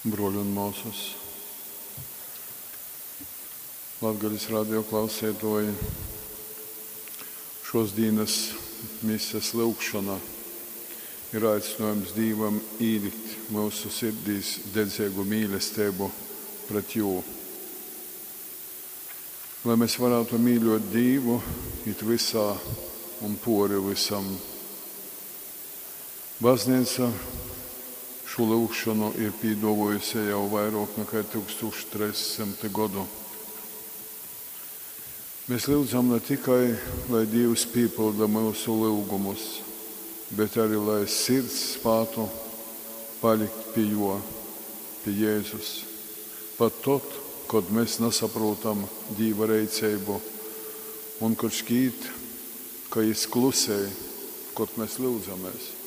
Bruoļi un muosys, Latgales radio klauseituoji, šuos dīnys mises lyugšona ir aicynuojums Dīvam īlikt myusu sirdīs dedzeigu mīlesteibu pret Jū. Lai mes varātu mīļuot Dīvu it vysā un puori vysam. Bazneica šū lyugšonu ir pīduovuojuse jau vairuok nakai 1300 godu. Mes lyudzam na tikai, lai Dīvs pīpylda myusu lyugumus, bet ari lai sirds spātu palikt pi Juo, pi Jēzus, pat tod, kod mes nasaprūtam Dīva reiceibu un kod škīt, ka Jis klusej, kod mes lyudzamēs.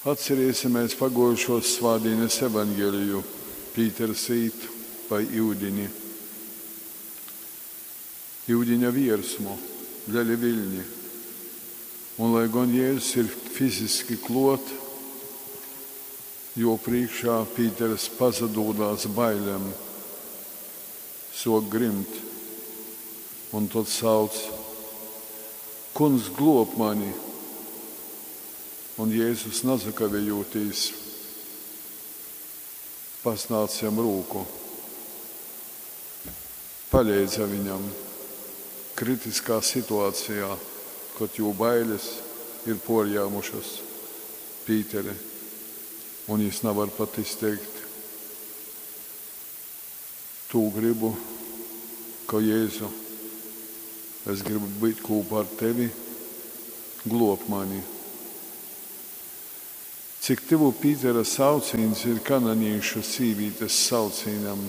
Atcerēsimies paguojušuos svātdīnis evangeliju. Pīters īt pa iudini. Iudiņa viersmu, leli viļni. Un lai gon Jēzus ir fiziski kluot, juo prīškā Pīters pasadūdās bailem, suok grimt un tod sauc: Kungs, gluob mani! Un Jēzus nasakavejūtīs pasnādz jam rūku, paleidza viņam kritiskā situācijā, kod jū bailes ir puorjāmušys Pīteri, un jis navar pat izteikt tū grybu, ka Jēzu, es grybu būt kūpā ar tevi, gluob mani. Cik tyvu Pītera saucīņs ir kananīšu sīvītes saucīņam: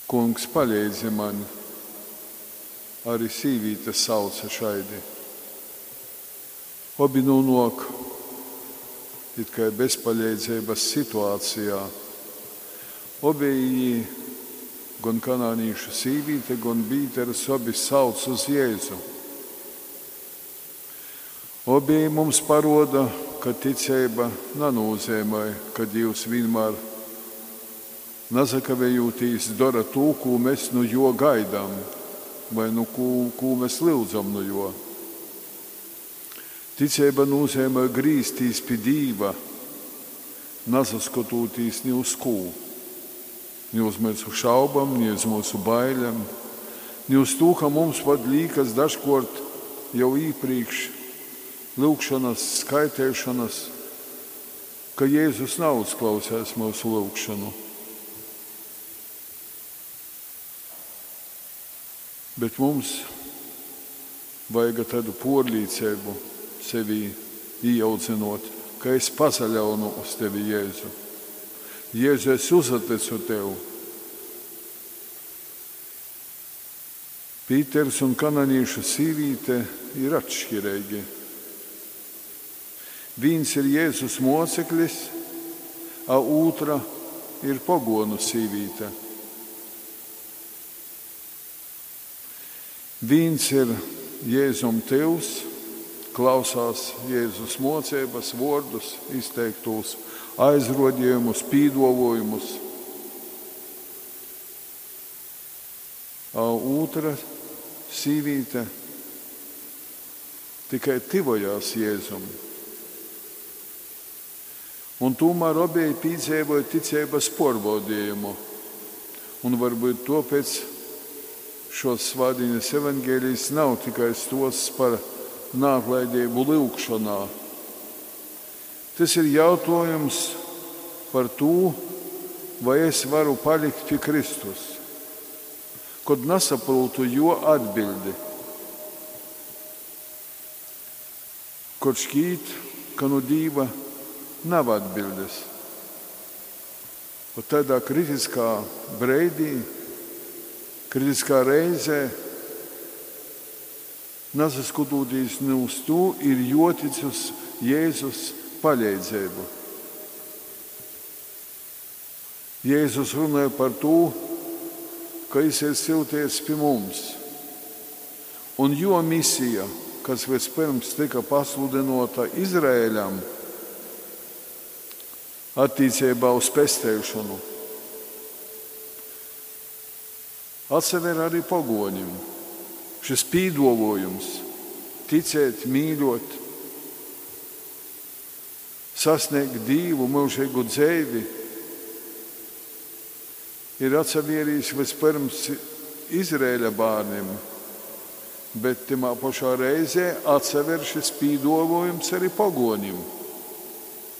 Kungs, paleidzi maņ! Ari sīvīte sauce šaidi. Obi nūnuok it kai bezpaleidzeibys situācijā. Obeji jī, gon kanānīšu sīvīte, gon Pīters, obi sauc uz Jēzu. Obeji mums paruoda, ka ticeiba nanūzeimoj, ka Dīvs vīnmār nasakavejūtīs dora tū, kū mes nu juo gaidam voi nu kū, kū mes lyudzam nu juo. Ticeiba nūzeimoj grīztīs pi Dīva, nasaskotūtīs ni uz kū, ni uz myusu šaubom, ni uz myusu bailem, ni uz tū, ka mums pat līkas dažkuort jau īprīkš lyugšonys skaiteišonys, ka Jēzus nauzklausēs myusu lyugšonu. Bet mums vajaga taidu puorlīceibu sevī īaudzynuot, ka es pasaļaunu uz tevi, Jēzu. Jēzu, es uzatycu tev. Pīters un kananīšu sīvīte ir atškireigi. Vīns ir Jēzus muoceklis, a ūtra ir poguonu sīvīte. Vīns ir Jēzum tyvs, klausās Jēzus muoceibys, vuordus izteiktūs, aizruodejumus, pīduovuojumus. A ūtra sīvīte tikai tyvojās Jēzum. Un tūmār obeji pīdzeivoja ticeibys puorbaudejumu. Un varbyut tuopēc šuos svātdīnis evangelijs nav tikai stuosts par naatlaideibu lyugšonā. Tys ir jautuojums par tū, vai es varu palikt pi Kristus, kod nasaprūtu juo atbiļdi. Kod škīt, ka nu Dīva nav atbiļdes. Vot taidā kritiskā breidī, kritiskā reizē, nasaskotūtīs ni uz tū, ir juotic uz Jēzus paleidzeibu. Jēzus runāja par tū, ka jis ir syutiets pi mums. Un juo misija kas vyspyrms tyka pasludynōta Izraeļam attīceibā uz pesteišonu, atsaver ari pogōnim. Šys pīdōvōjums, ticēt, mīļōt, sasnēgt Dīvu, myužeigu dzeivi, ir atsavērīs vyspyrms Izraeļa bārnim, bet tymā pošā reizē atsaver šys pīdōvōjums ari pogōnim.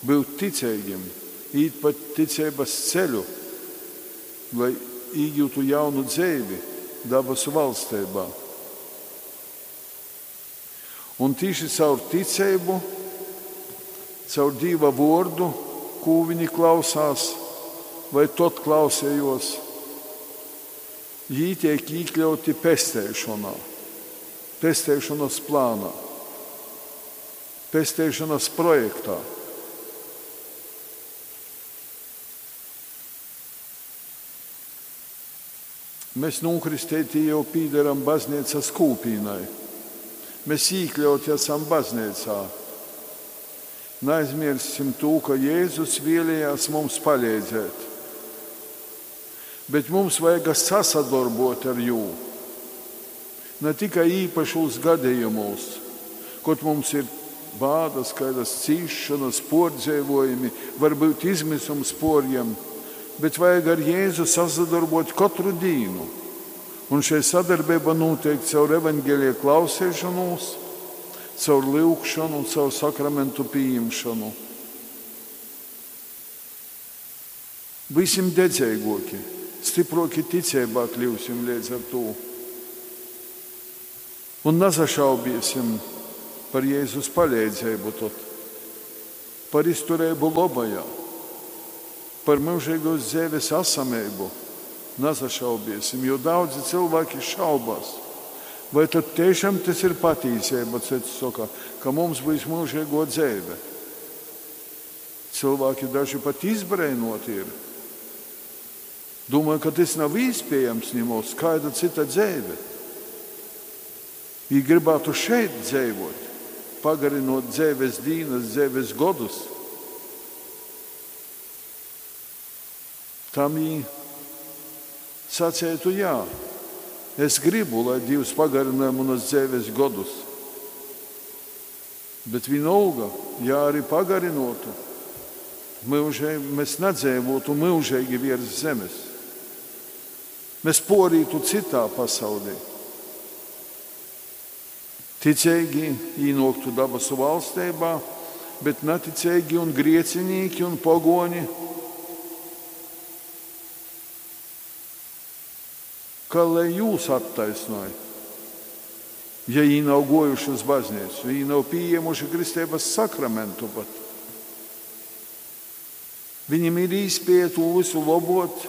Byut ticeigim, īt pa ticeibas ceļu, lai īgyutu jaunu dzeivi dabasu valsteibā. Un tīši caur ticeibu, caur Dīva vōrdu, kū viņi klausās, vai tod klausējos, jī tiek īkļauti pesteišonā, pesteišonas plānā, pesteišonas projektā. Mēs nūkristētī jau pīdaram bazneicas kūpīnai. Mēs īkļauti esam bazneicā. Naizmierssim tū, ka Jēzus vēlējās mums paleidzēt. Bet mums vajaga sasadorbot ar jū. Ne tikai īpašūs gadījumos, kod mums ir bādas, kādas cīšanas, pōrdzeivojumi, varbūt izmisums porjam, bet vajag ar Jēzu sasadarbot katru dīnu. Un šei sadarbība notiek caur evaņģēlija klausīšanos, caur lyugšanu, caur sakramentu pieņemšanu. Būsim dedzīgoki, stiproki ticībā kļūsim līdz ar to. Un nesašaubīsim par Jēzus palīdzību tad, par izturību labajā, par mūžīgos dzīves esamību. Nesašaubīsim, jo daudzi cilvēki šaubās. Vai tad tiešām tas ir patīsība, cits saka, ka mums būs mūžīgo dzīve? Cilvēki daži pat izbrēnoti ir. Domāju, ka tas nav iespējams nemaz, kāda cita dzīve. Viņi gribētu šeit dzīvot, pagarinot dzīves dienas, dzīves godus. Tam viņi sacētu jā. Es gribu, lai Dievs pagarināja manas dzīves godus. Bet vienalga, ja arī pagarinotu, mūžēji, mēs nedzīvotu mūžīgi virs zemes. Mēs porītu citā pasaulē. Ticīgi ienāktu dabasu valstībā, bet neticīgi un griecinīgi un pagoni, kā lai jūs attaisnoja, ja viņi nav gojuši uz baznīcu, viņi nav pieņēmuši kristības sakramentu pat. Viņam ir īspēja to visu labot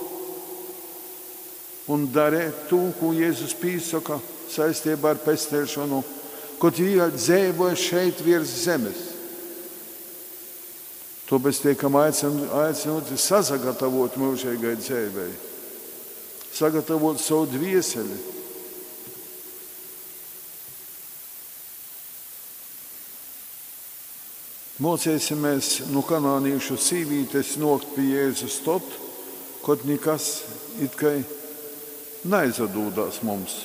un darīt to, ko Jēzus pīsaka saistībā ar pestēšanu, kad viņi dzīvoja šeit virs zemes. Tāpēc tiekam aicināti sasagatavot mūžīgai dzīvei, sagatavot savu dvieseli. Mocēsimies no kanānīšu sīvītes nokt pie Jēzus tot, kad nekas it kā neizadūdās mums.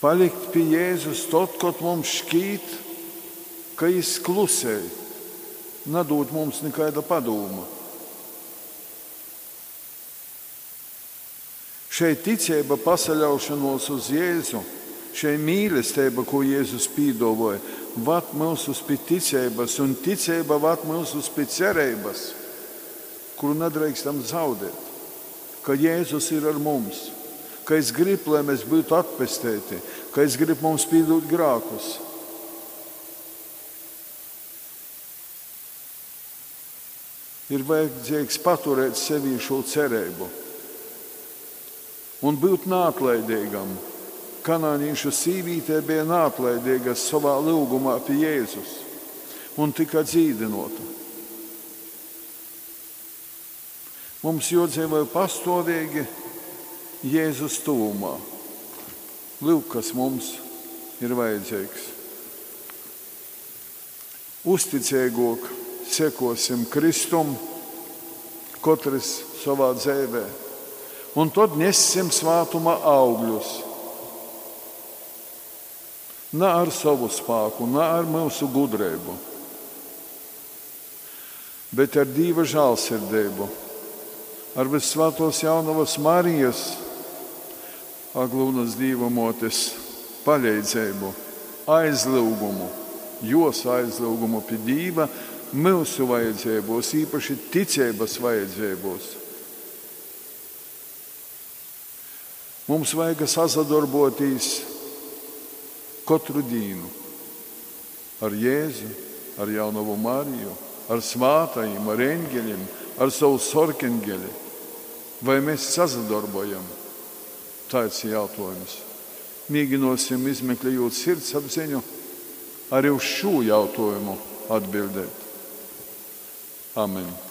Palikt pie Jēzus tot, kad mums šķīt, ka jis klusē, nedod mums nekāda padoma. Šeit ticība pasaļaušanos uz Jēzu, šeit mīlestība, ko Jēzus pīdavoja, vad mūsus pie ticības, un ticība vad mūsus pie cerības, kuru nedrīkstam zaudēt, ka Jēzus ir ar mums, ka es gribu, lai mēs būtu atpestēti, ka es gribu mums pīdot grākus. Ir vajadzīgs paturēt sevī šo cerību un būt neatlaidīgam. Kanānīšu sīvītē bija neatlaidīga savā lūgumā pie Jēzus un tika dzīdinota. Mums jodzīvoja pastāvīgi Jēzus tuvumā. Lūk, kas mums ir vajadzeigs. Uzticeiguok sekuosim Kristum, kotrys sovā dzeivē, un tod nessim svātuma augļus. Na ar sovu spāku, na ar myusu gudreibu, bet ar Dīva žālsirdeibu, ar Vyssvātuos Jaunovys Marijas, Aglyunys Dīva Muotis paleidzeibu, aizlyugumu, juos aizlyugumu pi Dīva myusu vajadzeibuos, īpaši ticeibys vajadzeibuos. Mums vajaga sasadorbuotīs kotru dīnu ar Jēzu, ar Jaunovu Mariju, ar svātajim, ar eņgelim, ar sovu sorkengeli. Vai mēs sasadorbojam? Taids ir jautājums. Mēģināsim, izmeklējot sirdsapziņu, arī uz šo jautājumu atbildēt. Amen.